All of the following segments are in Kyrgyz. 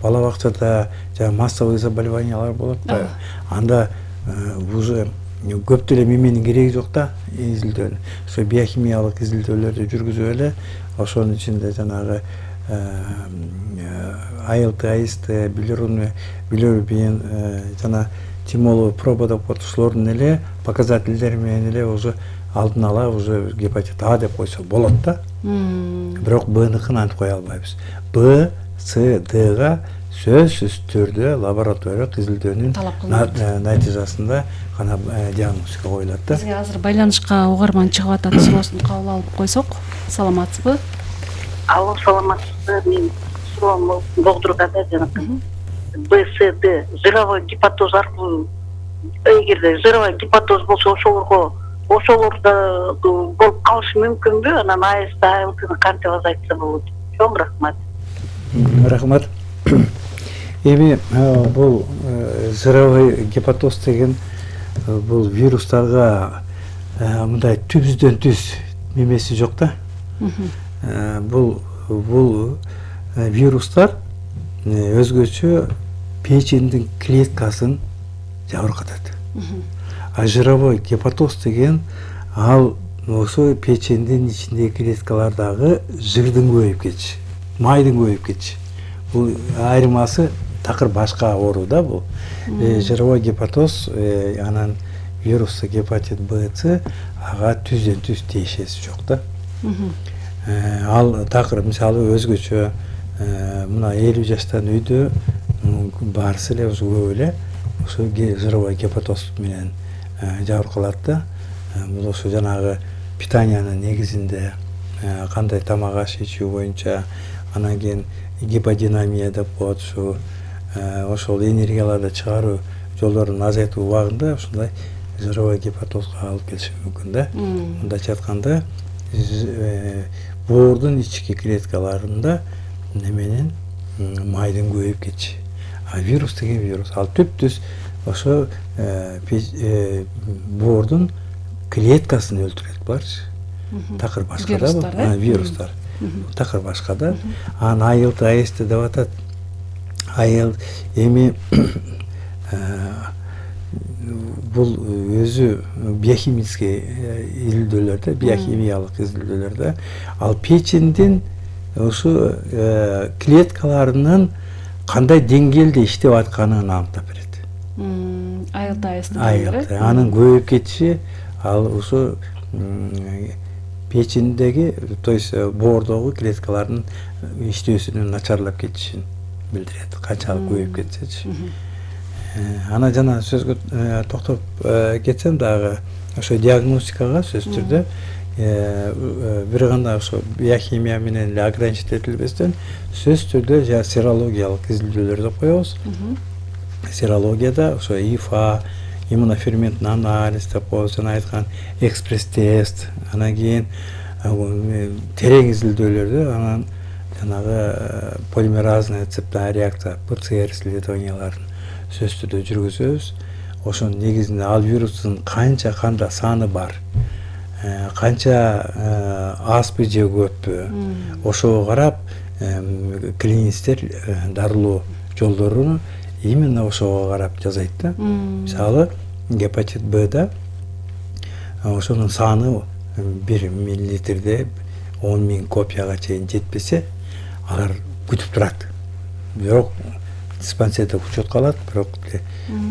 бала бакчада массовый заболеваниялар болот да. Анда уже көп деле меменин кереги жок да, изилдөөнүн. Ошо биохимиялык изилдөөлөрдү жүргүзүп эле ошонун ичинде жанагы АЛТ, АСТ, билирубин жана тимоловый проба деп коет, ушулордун эле показательдери менен эле уже алдын ала уже гепатит А деп койсо болот да. Бирок Б'ныкын антип кое албайбыз. Б, С, Дга сөзсүз түрдө лабораториялык изилдөөнүн натыйжасында гана диагностика коюлат да. Бизге азыр байланышка угарман чыгып атат, суроосун кабыл алып койсок. Саламатсызбы? Алло, саламатсызбы? Мен суроомду болдурганда жанагы БСД жировой гепатоз аркылуу, эгерде жировой гепатоз болсо ошолордо болуп калышы мүмкүнбү? Анан АСТ, АЛТны кантип азайтса болот? Чоң рахмат. Рахмат. Эми бул жировой гепатоз деген бул вирустарга мындай түздөн түз немеси жок да. Бул вирустар өзгөчө печендин клеткасын жабыркатат. А жировой гепатоз деген ал ошо печендин ичиндеги клеткалардагы жырдын көбөйүп кетиши, майдын көбөйүп кетиши. Бул айырмасы такыр башка оору да бул. Жировой гепатоз анан вирусты гепатит Б, С ага түздөн түз тиешеси жок да. Ал такыр мисалы өзгөчө мына 50 жаштан үйдө баарысы эле көп эле ошо жировой гепатоз менен жабыркалат да. Бул ошо жанагы питаниянын негизинде кандай тамак аш ичүү боюнча, анан кийин гиподинамия деп коет, ошол энергияларды чыгаруу жолдорун азайтуу убагында ушундай жировой гепатозго алып келиши мүмкүн да. Мындайча айтканда боордун ички клеткаларында неменин майдын көбөйүп кетиши. А вирус деген вирус, ал түптүз ошо боордун клеткасын өлтүрөт буларчы. Такыр башка да вирустар. Такыр башка да. Анан АЛТ, АСТ деп атат. Эми бул өзү биохимический изилдөөлөрдө, биохимиялык изилдөөлөрдө ал печендин ошо клеткаларынын кандай деңгээлде иштеп атканын аныктап берет. АЛТ, АСТ. Анын көбөйүп кетиши ал ошо печендеги, то есть боордогу клеткалардын иштөөсүнүн начарлап кетишин билдирет. Канчалык көбөйүп кетсечи. Ана жана сөзгө токтоп кетсем дагы ошо диагностикага сөзсүз түрдө бир гана ошо биохимия менен эле ограничить этилбестен сөзсүз түрдө серологиялык изилдөөлөрдү коебуз. Серологияда ошо ИФА, иммуноферменттин анализ деп коебуз, жана айткан экспресс-тест, анан кийин терең изилдөөлөрдү, анан жанагы полимеразная цепная реакция ПЦР исследованияларын сөзсүз түрдө жүргүзөбүз. Ошонун негизинде ал вирустун канча канда саны бар, канча азбы же көппү, ошого карап клиництер дарылоо жолдорун именно ошого карап жасайт да. Мисалы гепатит Б'да ошонун саны 1 миллилитрде 10.000 копияга чейин жетпесе, алар күтүп турат. Бирок диспансерде учетко алат, бирок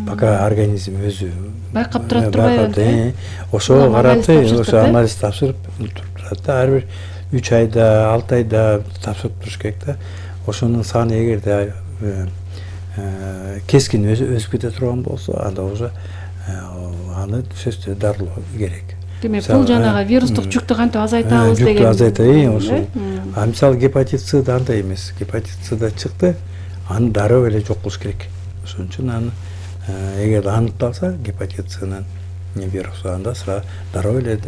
пока организм өзү байкап турат. Ошого карап ошо анализ тапшырып турат да. Ар бир 3 айда, 6 айда тапшырып туруш керек да. Ошонун саны эгерде кескин өсүп кете турган болсо, анда уже аны сөзсүз дарылоо керек. Демек, бул жанагы вирустук жүктү кантип азайтабыз деген. Жүктү азайтайын ошол. А мисалы гепатит С'да андай эмес. Гепатит С'да чыкты, аны дароо эле жок кылыш керек. Ошон үчүн аны эгер аныкталса гепатит С'нын вирусу, анда сразу дароо эле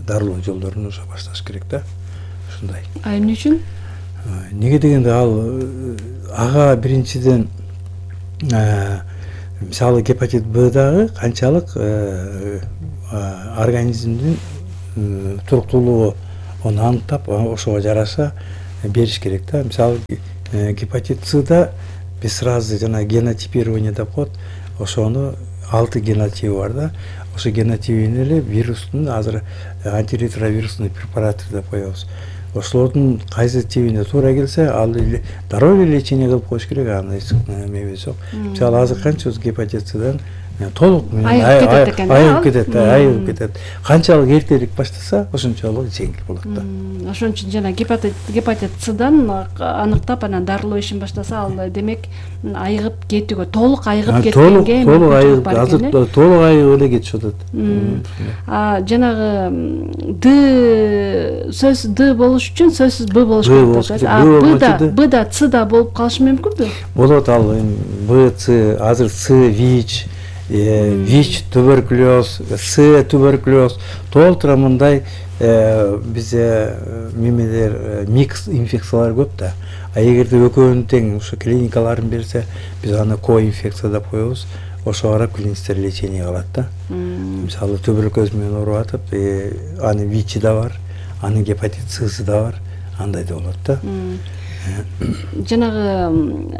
дарылоо жолдорун уже башташ керек да. Ушундай. А эмне үчүн? Неге дегенде ал ага биринчиден мисалы гепатит Б'дагы канчалык организмдин туруктуулугу аны аныктап, ошого жараша бериш керек да. Мисалы гепатит С-да биз сразу жана генотипирование деп коет. Ошону 6 генотиби бар да. Ошо генотибине эле вирустун азыр антиретровирусный препарат деп коебуз. Ошолордун кайсы тибине туура келсе, ал дароо эле лечение кылып коюш керек, аны эмебиз жок. Мисалы азыр канчабыз гепатит С-дан толук айыгып кетет. Канчалык эртерээк баштаса, ошончолук жеңил болот да. Ошон үчүн жана гепатит С-дан аныктап анан дарылоо ишин баштаса, ал демек айыгып кетүүгө, толук айыгып кеткенге мүмкүнчүлүк бар экен. Азыр толук айыгып эле кетишип атат. Жанагы Д болуш үчүн сөзсүз Б болуш керек. Б да С да болуп калышы мүмкүнбү? Болот, ал Б, С, азыр С, ВИЧ, ВИЧ туберкулез, С туберкулез, толтура мындай бизде мемелер микс инфекциялар көп да. Эгерде экөөнүн тең ушу клиникаларын берсе, биз аны коинфекция деп коебуз. Ошо карап клиниктер лечение кылат да. Мисалы туберкулез менен ооруп атып, аны ВИЧ да бар, анын гепатит С да бар, андай да болот да. Жанагы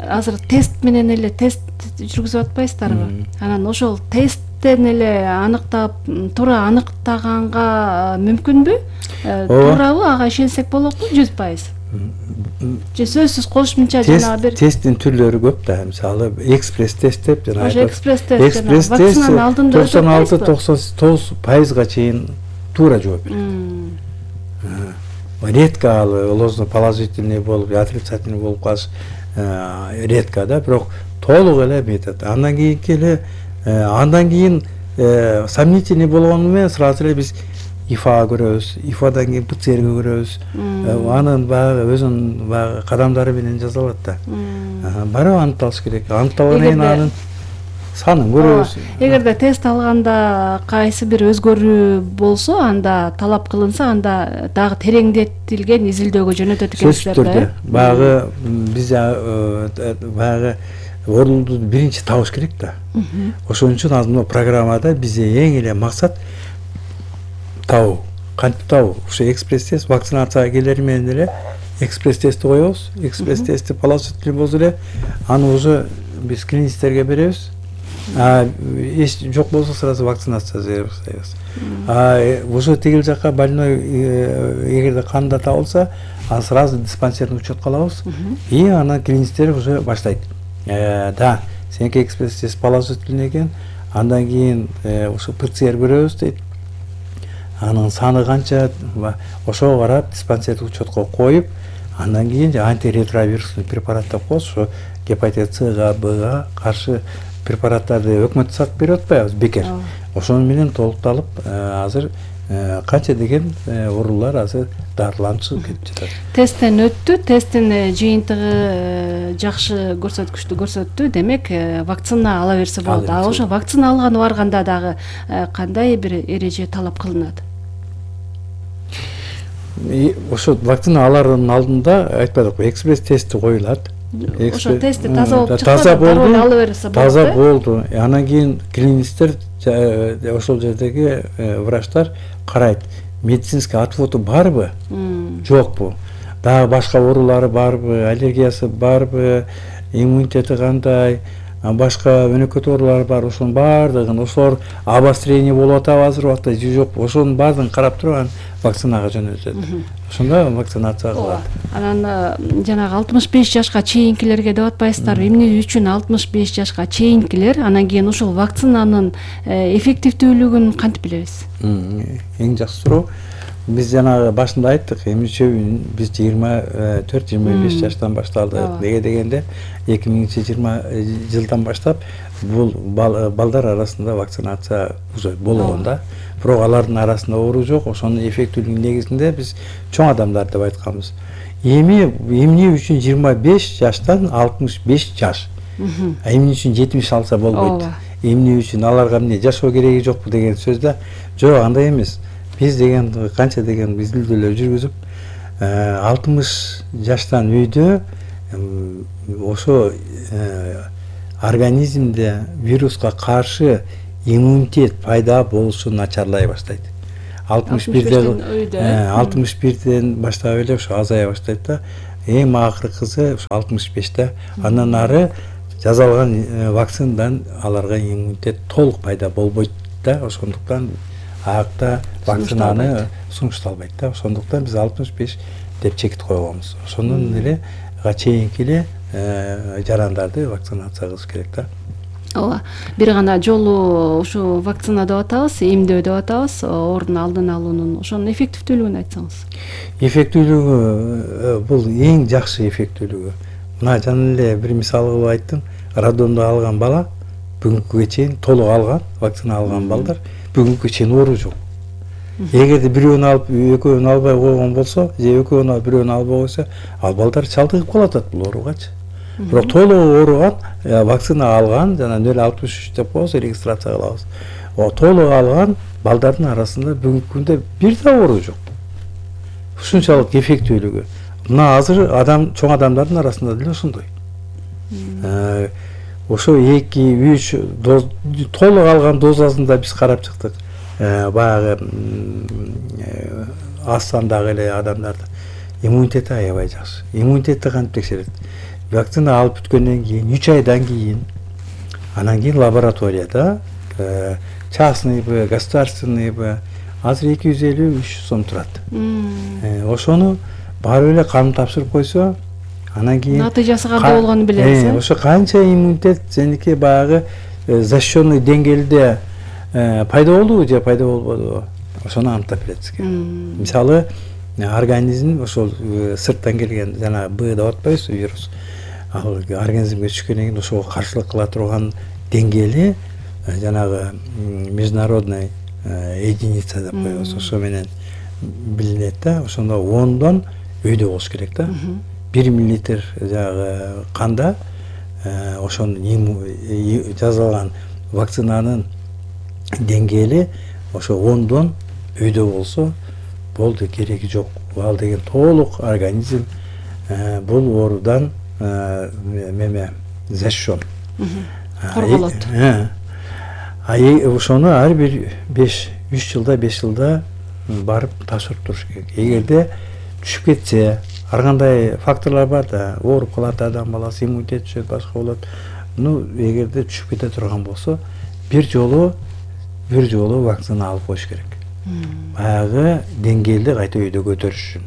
азыр тест менен эле тест жүргүзүп атпайсыздарбы? Анан ошол тесттен эле аныктап, туура аныктаганга мүмкүнбү? Туурабы? Ага ишенсек болокпу 100%? Же сөзсүз кошумча жанагы бир тесттин түрлөрү көп да. Мисалы экспресс тест деп жана ошо экспресс тест жана вакцинанын алдында 96-99% чейин туура жооп берет. Редко ал ложно положительный болуп, отрицательный болуп калыш редко да, бирок толук эле метод. Андан кийин сомнительный болгону менен сразу эле биз ИФА көрөбүз, ИФАдан кийин ПЦР көрөбүз. Анын баягы өзүнүн баягы кадамдары менен жазылат да. Барып аныкталыш керек. Аныкталгандан кийин анын санын көрөбүз. Эгерде тест алганда кайсы бир өзгөрүү болсо, анда талап кылынса, анда дагы тереңдетилген изилдөөгө жөнөтөт экенсиздер да. Баягы биз баягы орунду биринчи табыш керек да. Ошон үчүн азыр программада бизде эң эле максат табуу. Кантип табуу? Ошо экспресс тест вакцинацияга келери менен эле экспресс тестти коебуз. Экспресс тестти положительный болсо эле аны уже биз клиниктерге беребиз. Эч жок болсо сразу вакцинация жасайбыз. Уже тигил жака больной эгерде канда табылса, аны сразу диспансерный учетко алабыз. И анан клиниктер уже баштайт. Да, сеники экспресс тест положительный экен. Андан кийин ошо ПЦР көрөбүз дейт. Анын саны канча, ошого карап диспансердик учетко коюп, андан кийин антиретровирусный препарат деп коебуз. Ошо гепатит С-га, Б-га каршы препараттарды өкмөт сатып берип атпайбыз бекер. Ошонун менен толукталып, азыр канча деген оорулар азыр дарыланып чыгып кетип жатат. Тесттен өттү, тесттин жыйынтыгы жакшы көрсөткүчтү көрсөттү, демек вакцина ала берсе болот. Ошо вакцина алганы барганда дагы кандай бир эреже талап кылынат? Ошо вакцина алардын алдында айтпадыкпы, экспресс тести коюлат. Ошо тестти таза болуп чыкса, дароо ала берсе болот. Таза болду. Анан кийин клиниктер ошол жердеги врачтар карайт. Медицинский отводу барбы? Жокпу? Дагы башка оорулары барбы? Аллергиясы барбы? Иммунитети кандай? Башка өнөкөт оорулар бар. Ошонун баардыгын, ошолор обострение болуп атабы азыр убакта же жокпу? Ошонун баардыгын карап туруп анан вакцинага жөнөтөт. Ошондо вакцинация кылат. Анан жанагы 65 жашка чейинкилерге деп атпайсыздарбы? Эмне үчүн 65 жашка чейинкилер? Анан кийин ушул вакцинанын эффективдүүлүгүн кантип билебиз? Эң жакшы суроо. Биз жанагы башында айттык, эмне үчүн биз 24-25 жаштан башталды. Неге дегенде 2020 жылдан баштап бул балдар арасында вакцинация уже болгон да. Бирок алардын арасында оору жок. Ошонун эффектүүлүгүнүн негизинде биз чоң адамдар деп айтканбыз. Эмне үчүн 25 жаштан 65 жаш? Эмне үчүн 70 алса болбойт? Эмне үчүн аларга эмне жашоо кереги жокпу деген сөздө? Жок, андай эмес. Биз деген канча деген изилдөөлөр жүргүзүп, 60 жаштан үйдө ошо организмде вируска каршы иммунитет пайда болушу начарлай баштайт. 61ден баштап эле ошо азая баштайт да. эң акыркысы 65-те. Андан ары жасалган вакцинадан аларга иммунитет толук пайда болбойт да. Ошондуктан аякта вакцинаны сунушталбайт да. Ошондуктан биз 65 деп чекит койгонбуз. Ошондон эле чейинки эле жарандарды вакцинация кылыш керек да. Ооба. Бир гана жолу ушу вакцина деп атабыз, эмдөө деп атабыз, оорунун алдын алуунун ошонун эффективдүүлүгүн айтсаңыз. Эффектүүлүгү бул эң жакшы эффектүүлүгү. Мына жана эле бир мисал кылып айттым. Радондо алган бала бүгүнкүгө чейин толук алган, вакцина алган балдар бүгүнкүгө чейин оору жок. Эгерде бирөөнү алып, экөөнү албай койгон болсо, же экөөнү алып, бирөөнү албай койсо, ал балдар чалдыгып калат бул ооругачы. Бирок толук ооруган, вакцина алган, жана 063 деп коебуз, регистрация кылабыз. Толук алган балдардын арасында бүгүнкү күндө бир да оору жок. Ушунчалык эффектүүлүгү. Мына азыр чоң адамдардын арасында деле ошондой. Ошо 2-3 доз толук алган дозасында биз карап чыктык. Баягы аз сандагы эле адамдарда иммунитети аябай жакшы. Иммунитетти кантип текшерет? Вакцина алып бүткөндөн кийин 3 айдан кийин анан кийин лабораторияда частныйбы, государственныйбы азыр 250-300 сом турат. Ошону барып эле кан тапшырып койсо, анан кийин натыйжасы кандай болгонун билебиз. Ошо канча иммунитет сеники баягы защищенный деңгээлде пайда болдубу же пайда болбодубу? Ошону аныктап берет сизге. Мисалы, организм ошол сырттан келген жана Б деп атпайбызбы, вирус. Ал организмге түшкөндөн кийин ошого каршылык кыла турган деңгээли жанагы международный единица деп коебуз. Ошо менен билинет да. Ошондо 10дон өйдө болуш керек да. 1 мл жанагы канда ошонун жасалган вакцинанын деңгээли ошо 10дон өйдө болсо болду, кереги жок. Ал деген толук организм бул оорудан защищен. Корголот. Ошону ар бир 3 жылда 5 жылда барып тапшырып туруш керек. Эгерде түшүп кетсе, ар кандай факторлор бар да, ооруп калат адам баласы, иммунитет түшөт, башка болот. Эгерде түшүп кете турган болсо, бир жолу вакцина алып коюш керек. Баягы деңгээлди кайта өйдө көтөрүш үчүн.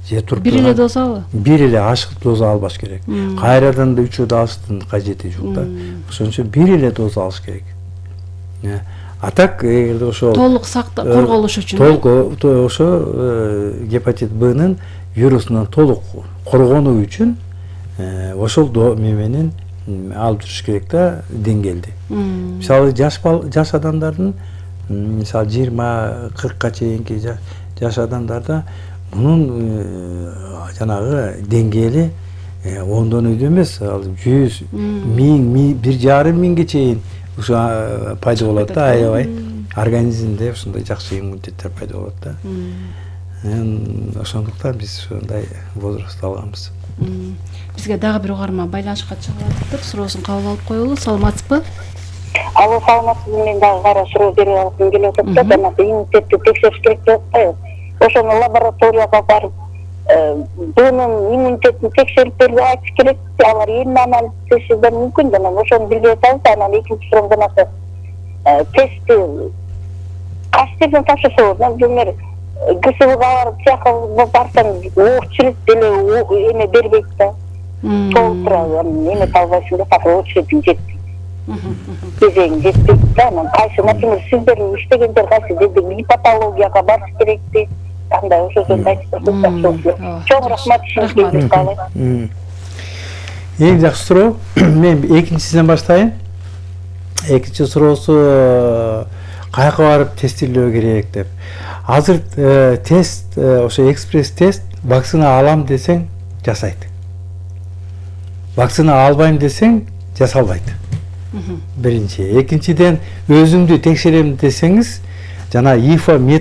Же туруп бир эле дозабы? Бир эле ашык доза албаш керек. Кайрадан да 3 алыштын кажети жок да. Ошон үчүн бир эле доза алыш керек. А так эгерде ошол толук корголуш үчүн. Толук ошо гепатит Б'нын вирусунан толук коргонуу үчүн ошол менен алып туруш керек да деңгээлди. Мисалы жаш адамдардын, мисалы 20-40ка чейинки жаш адамдарда мунун жанагы деңгээли 10дон өйдө эмес, ал 100, 1000, 1,5 миңге чейин ушу пайда болот да, аябай. Организмде ушундай жакшы иммунитеттер пайда болот да. Ошондуктан биз ушундай возраст алганбыз. Бизге дагы бир угарман байланышка чыгып атыптыр. Суроосун кабыл алып коелу. Саламатсызбы? Алло, саламатсызбы? Мен дагы кара суроо берип алгым келип атат да, жана иммунитетти текшериш керек деп атпайбы? Ошону лабораторияга барып, бунун иммунитетин текшерип берип айтыш керек. Алар эмне анализ текшериши мүмкүн, жана ошону билбей атабыз. Анан экинчи суроом жанагы тестти кайсы жерден тапшырса болот? Например, ГСВга барып тияка барсаң оор чирет деле эме бербейт да. Толук турат, эме табылбайсың да, так очередиң жетти. Кезең жетпейт да. Анан кайсы, например, сиздер иштеген жер кайсы, гепатологияга барыш керекпи? Кандай ошол жөнүндө айтып берсеңиз. Чоң рахмат, ишиңизге каалайм. Эң жакшы суроо. Мен экинчисинен баштайын. Экинчи суроосу каяка барып тестилөө керек деп. Азыр тест, ошо экспресс тест, вакцина алам десең жасайт. Вакцина албайм десең жасалбайт. Биринчи. Экинчиден өзүмдү текшерем десеңиз, жана ИФА